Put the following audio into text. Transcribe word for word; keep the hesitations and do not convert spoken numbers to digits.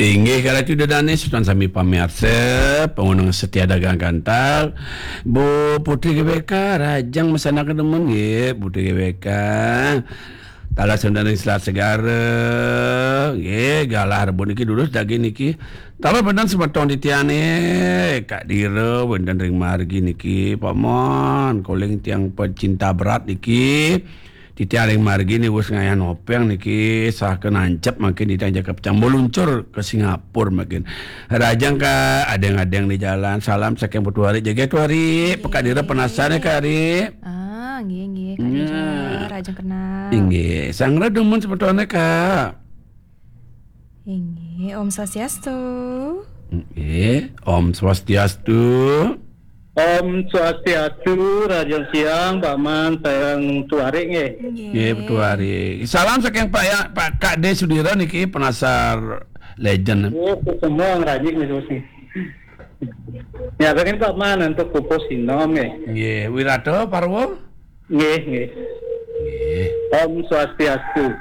Inggih, kala itu ida dané, semeton sami pamiarsa, pangunung setia dagang kantal. Bu Putri G W K, rahajeng masandekan dumun, nggih, Putri G W K. Taler semeton ring Selat Segara, nggih, galah rebun niki durus daging niki. Taler wénten semeton titiangé, Kak Dira, wénten ring margi niki, Paman, kaling tiang pecinta berat niki. Titiang ring margi niki wus ngayah nopéng niki, saha nancep mangkin titiang jaka pacang maluncur ka Singapura mangkin. Rahajeng Kak, adéng-adéng di jalan. Salam saking Putu Ari, jaga Putu Ari. Pak Dira penasar ya, Kak Ari. Ah, nggih, nggih, Kak Dira. Rahajeng kenal. Inggih, sanggra dumun semeton, Kak. Inggih, Om Swastiastu. Inggih, Om Swastiastu. Om Swastiastu, rahajeng siang, Paman, sareng Putu Ari nggih. Nggih, Putu Ari. Salam saking Pak ya, Pak Kak D Sudira niki, penasar legend. Nggih, semua ngrajik nggih, Gus, nggih. Ya, pengen Paman untuk pupus sinom nggih. Nggih, Wirata Parwa. Nggih, nggih. Nggih. Om Swastiastu.